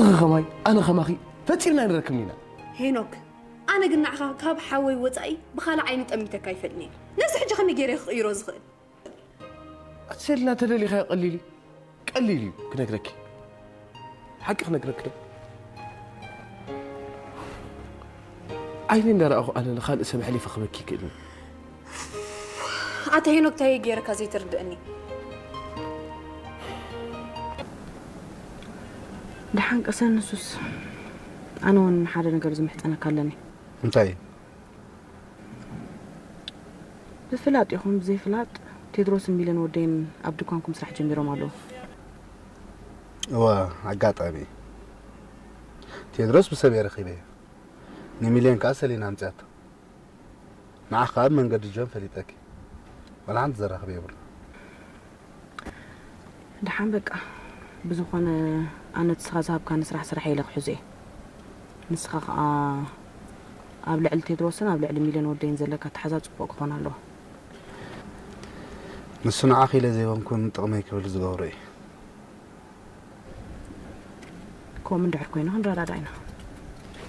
ንስኺ ኸማይ ኣነ ኸማኺ ፈጺምና ኣይንረክብን ኢና። ሄኖክ፣ ኣነ ግን ንዓኻ ካብ ሓወይ ወጻኢ ብኻልእ ዓይኒ ጠሚተካ ኣይፈልጥን እየ። ነዚ ሕጂ ከመይ ገይረ ክቕይሮ ዝኽእል? ኣቲ ሰሊና ተደሊኻዮ ቀሊል እዩ። ቀሊል እዩ ክነግረኪ። ሓቂ ክነግረኪ ዶ? ዓይኒ እንዳረኣኹ ኣነ ንኻልእ ሰብ ኣሕሊፈ ክበኪ ይክእልን። ኣታ ሄኖክ፣ እንታይ ገይረካ ዘይትርድእኒ? ደሓን ቀሰን ንሱስ፣ ኣነ እውን ሓደ ነገር ዝምሕጸነካ ኣለኒ። እንታይ እዩ? ብፍላጥ ይኹን ብዘይፍላጥ ቴድሮስን ሚልን ወደይን ኣብ ድኳንኩም ስራሕ ጀሚሮም ኣለዉ። እወ፣ ኣጋጣሚ ቴድሮስ ብሰብ እየ ረኺበ፣ ንሚልዮን ከኣ ሰሊና ኣምፅኣቶ። ንዓ ከኣ ብመንገዲ ጆን ፈሊጠኪ፣ ዋላ ሓንቲ ዘራኽበ የብሉ። ደሓን በቃ፣ ብዝኾነ ኣነ ንስኻ ዝሃብካኒ ስራሕ ስራሕ ኢለ ክሕዞ እየ። ንስኻ ከኣ ኣብ ልዕሊ ቴድሮስን ኣብ ልዕሊ ሚልዮን ወደይን ዘለካ ኣተሓዛ ጽቡቕ ክኾን ኣለዎ። ንሱ ንዓኺ ኢለ ዘይኮንኩን ጥቕመይ ክብል ዝገብሮ እዩ። ከምኡ እንድሕር ኮይኑ ክንረዳዳ ኢና።